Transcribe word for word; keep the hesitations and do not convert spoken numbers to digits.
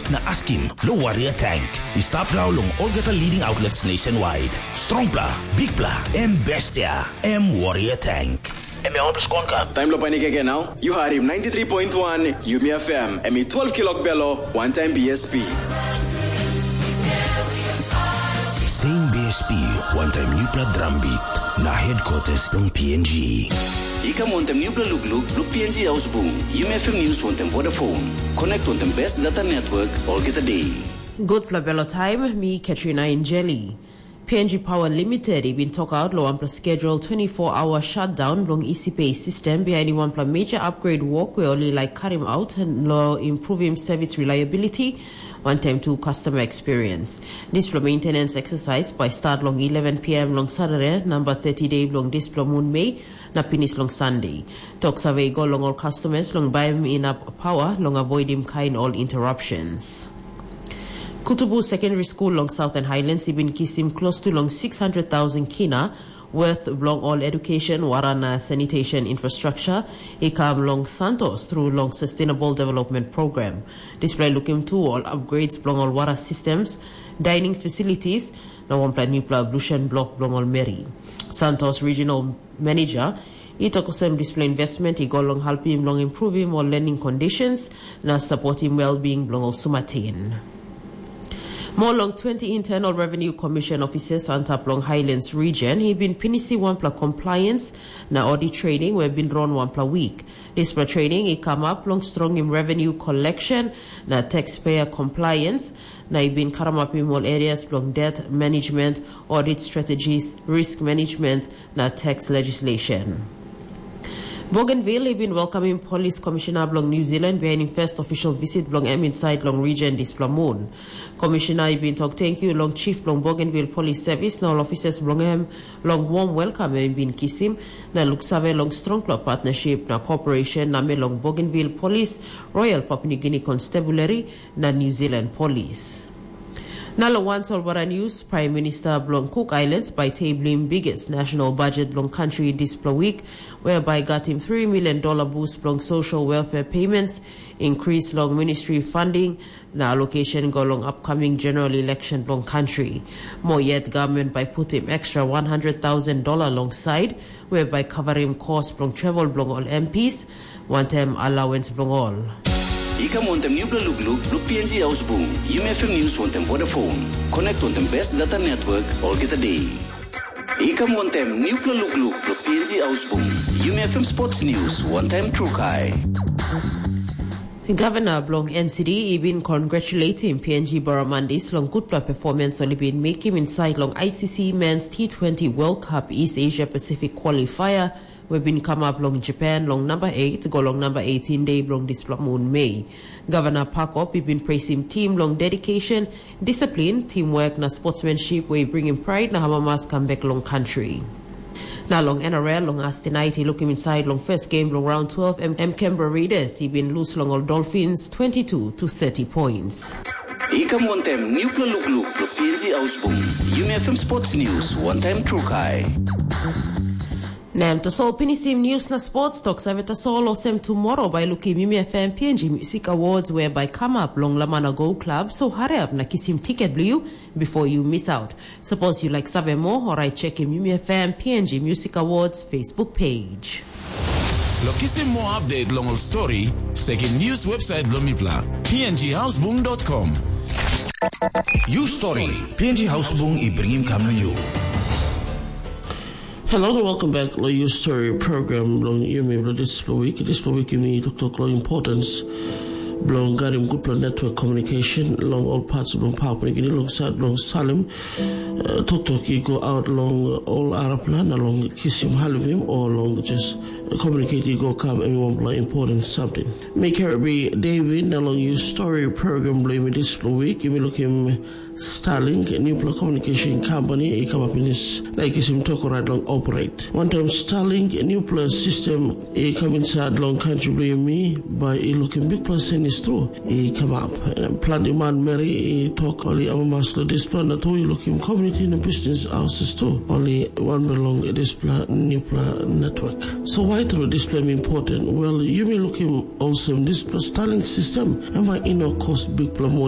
Na askim, lo Warrior Tank. I stap nau long olgeta leading outlets nationwide. Strongpla, bigpla, em bestia, em Warrior Tank. Em ya wanpela skonka. Taim lo panik again now. You heard him ninety-three point one Yumi F M. Em i twelve kilok belo, one time B S P. Same B S P, one time newpela drum beat. Na headquarters long P N G. I kam wantaim newpela lukluk bilong P N G Ausbung, Yumi F M News wantaim Vodafone. Connect wantaim best data network olgeta day. Gutpela belo taim, mi Katrina Injeli. P N G Power Limited i bin tokaut long wanpela schedule twenty-four hour shutdown bilong E C P A system behind wanpela major upgrade work we oli like karim out lo improving service reliability, one time to customer experience. Dispela maintenance exercise by start long eleven p m long Saturday, number thirty day bilong dispela moon May, na pinis long Sunday. Tok save i go long ol customers long baim inap power long avoidim kain ol interruptions. Kutubu Secondary School long Southern Highlands i bin kisim close to long six hundred thousand kina worth bilong ol education, wara na sanitation infrastructure i kam long Santos through long Sustainable Development Program. Dispela i lukim tu ol upgrades bilong ol wara systems, dining facilities, na wanpela newpela ablution block bilong ol meri. Santos Regional Manager i tok olsem dispela investment i go long helpim long improvim ol learning conditions na supportim well-being bilong ol sumatin. More long twenty Internal Revenue Commission officers antap long Highlands region i bin pinisi wanpela compliance na audit training we bin run wanpela week. Dispela training i kamap long strongim revenue collection na taxpayer compliance, na i bin karamapim ol areas bilong debt management, audit strategies, risk management, na tax legislation. Bougainville i bin welkamim polis komishina bilong New Zealand bihainim first official visit bilong em insait long region dispela mun. Komishina i bin tok tenkyu long chief bilong Bougainville Polis Sevis na ol ofisas bilong em long warm welkam em i bin kisim, na luksave long strongpela partnership na cooperation na me long Bougainville Polis, Royal Papua New Guinea Constabulary, na New Zealand Polis. Na long wan solwara news, Prime Minister bilong Cook Islands bai tablim biggest national budget bilong country dispela week, whereby got him three million dollar boost bilong social welfare payments, increase long ministry funding, na allocation go long upcoming general election bilong country. Mo yet government bai putim extra one hundred thousand dollar long side, whereby covering cost bilong travel bilong ol M Ps, wantaim allowance bilong ol. I kam wantaim newpela lukluk bilong P N G Ausbung, Yumi F M News wantaim Vodafone. Connect wantaim best data network olgeta day. I kam wantaim newpela lukluk bilong P N G Ausbung, Yumi F M Sports News wantaim Trukai. Gavana bilong N C D i bin congratulating P N G Barramandis long gutpela performance ol i bin mekim insait long I C C Men's T twenty World Cup East Asia Pacific Qualifier, we bin kamap long Japan long namba eight go long namba eighteen day bilong dispela mun Mei. Gavana Pakop i bin presim tim long dedication, discipline, teamwork na sportsmanship we i bringim pride na amamas kam bek long country. Na long N R L long astinait i lukim insait long first game long round twelve em, em Canberra Raiders i bin lus long ol Dolphins twenty-two to thirty points. I kam wantaim newpela lukluk bilong P N G Ausbung, Yumi F M Sports News wantaim Trukai. Na em tasol pinisim news na sports tok save tasol olsem tomorrow bai lukim Yumi F M P N G Music Awards whereby come up long Lamana Go Club, so hurry up na kisim tiket bilong you before you miss out. Suppose you like save more, alright, check him Yumi F M P N G Music Awards Facebook page. Lo kisim more update long ol story, sekim news website bilong mipela, P N G Hausbung dot com. You story, P N G Hausbung i bringim kam na you. Hello and welcome back to your story program long Yumi this week. This week Yumi talk talk long importance belong garim gutpela network communication long all parts belong Papua New Guinea long side belong Salim. Uh, talk talk you go out long all Arab land along kisim halivim or long just communicate you go come any one important something. Me carry David along your story program blame this week. You may look him Starlink, newpela communication company i come up in this like is him talk right long operate. One time Starlink, newpela system i come inside long country blame me by i looking big plus is true. I come up. And plenty man Mary i talk only amamas lo this plan that we looking community in business houses too. Only one belong this plan, newpela network. So why through this plan important? Well, you may look him also in this plus Starlink system. Am I in a cost big plan money?